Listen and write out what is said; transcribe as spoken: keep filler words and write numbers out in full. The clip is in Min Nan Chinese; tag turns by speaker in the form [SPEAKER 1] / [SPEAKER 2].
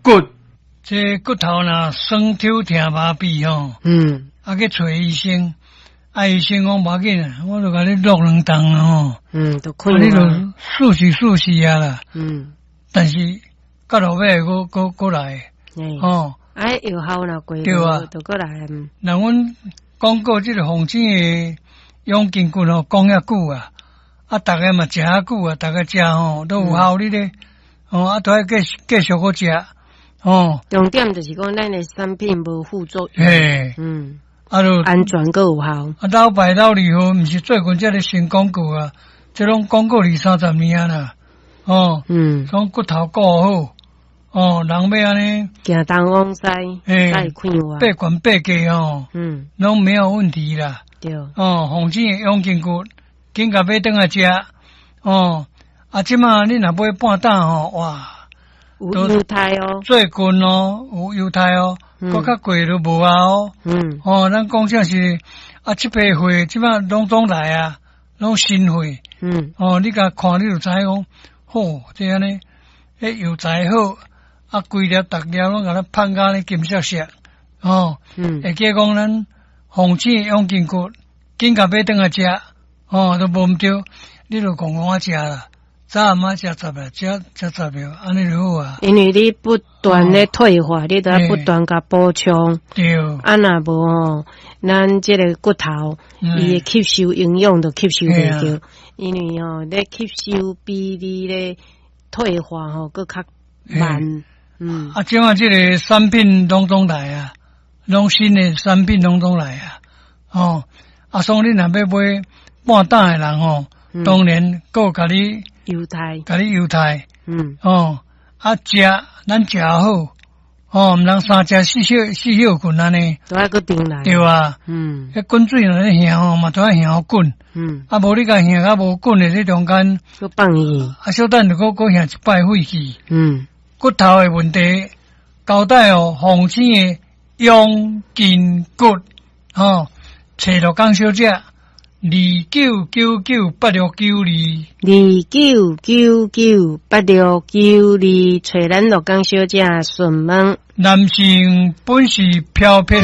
[SPEAKER 1] 骨，這骨頭若酸抽疼麻痹吼，
[SPEAKER 2] 嗯，
[SPEAKER 1] 啊去揣醫生，啊醫生講無要緊，我就共你落兩筒吼，
[SPEAKER 2] 嗯，就開
[SPEAKER 1] 啊你就試試試試啊啦，
[SPEAKER 2] 嗯，
[SPEAKER 1] 但是到落尾閣閣閣來，吼，
[SPEAKER 2] 啊藥效若過，
[SPEAKER 1] 對啊，
[SPEAKER 2] 就閣來。
[SPEAKER 1] 那阮廣告這個鳳青的養筋骨吼，講遐久啊，啊，逐家嘛食遐久啊，逐家食吼都有效力咧，哦，啊，都愛繼繼續閣食，哦。
[SPEAKER 2] 重點就是講，咱的產品無副作用，
[SPEAKER 1] 嘿，
[SPEAKER 2] 嗯，
[SPEAKER 1] 啊，就
[SPEAKER 2] 安全閣有效。
[SPEAKER 1] 啊，老牌老字號，毋是最近這个新廣告啊，這攏廣告二三十年啊啦，哦，
[SPEAKER 2] 嗯，
[SPEAKER 1] 講骨頭顧好，哦，人欲按呢
[SPEAKER 2] 行東往西，
[SPEAKER 1] 嘿，
[SPEAKER 2] 快活，
[SPEAKER 1] 八懸八架吼，
[SPEAKER 2] 嗯，
[SPEAKER 1] 攏沒有問題啦。
[SPEAKER 2] 對，
[SPEAKER 1] 哦，鳳青的養筋骨，緊共買轉來食，哦，啊，這馬你若買半擔吼，哇，
[SPEAKER 2] 有優待哦，
[SPEAKER 1] 最近哦，有優待哦，閣較貴都無啊哦，
[SPEAKER 2] 嗯，
[SPEAKER 1] 哦，咱講正是啊，這批貨這馬攏總來啊，攏新貨，
[SPEAKER 2] 嗯，
[SPEAKER 1] 哦，你共看你就知講，好，這按呢，彼藥材好，啊，規粒逐粒攏共咱芳甲呢金閃閃，哦，
[SPEAKER 2] 嗯，
[SPEAKER 1] 會記講咱鳳青養筋骨，緊共買轉來食，哦，都無毋對，你就戇戇仔食啦，早暗仔食十粒，食食十粒，按呢就好啊。
[SPEAKER 2] 因為你不斷咧退化，你都愛不斷共補充。
[SPEAKER 1] 對。
[SPEAKER 2] 啊，若無吼，咱這个骨頭，伊會吸收營養都吸收袂著，因為吼，咧吸收比你咧退化吼，閣較慢。嗯。
[SPEAKER 1] 啊，這馬這个產品攏總來啊，攏新的產品攏總來啊，哦，啊，所以你若欲買半擔的人吼，當然閣共你
[SPEAKER 2] 優待，
[SPEAKER 1] 共你優待，
[SPEAKER 2] 嗯，
[SPEAKER 1] 哦，啊，食咱食好，哦，毋通三食四歇四歇睏按呢，
[SPEAKER 2] 都愛閣轉來，
[SPEAKER 1] 對啊，
[SPEAKER 2] 嗯，
[SPEAKER 1] 彼滾水若咧燃吼，嘛都愛燃予滾，
[SPEAKER 2] 嗯，
[SPEAKER 1] 啊，無你共燃較無滾的這中間，
[SPEAKER 2] 閣放去，
[SPEAKER 1] 啊，小等就閣閣燃一擺廢去，
[SPEAKER 2] 嗯，
[SPEAKER 1] 骨頭的問題，交代哦，鳳青的養筋骨，吼，揣鹿港小姐，二九九九八六九二，
[SPEAKER 2] 二九九九八六九二，揣咱鹿港小姐詢問。
[SPEAKER 1] 男性本是飄撇。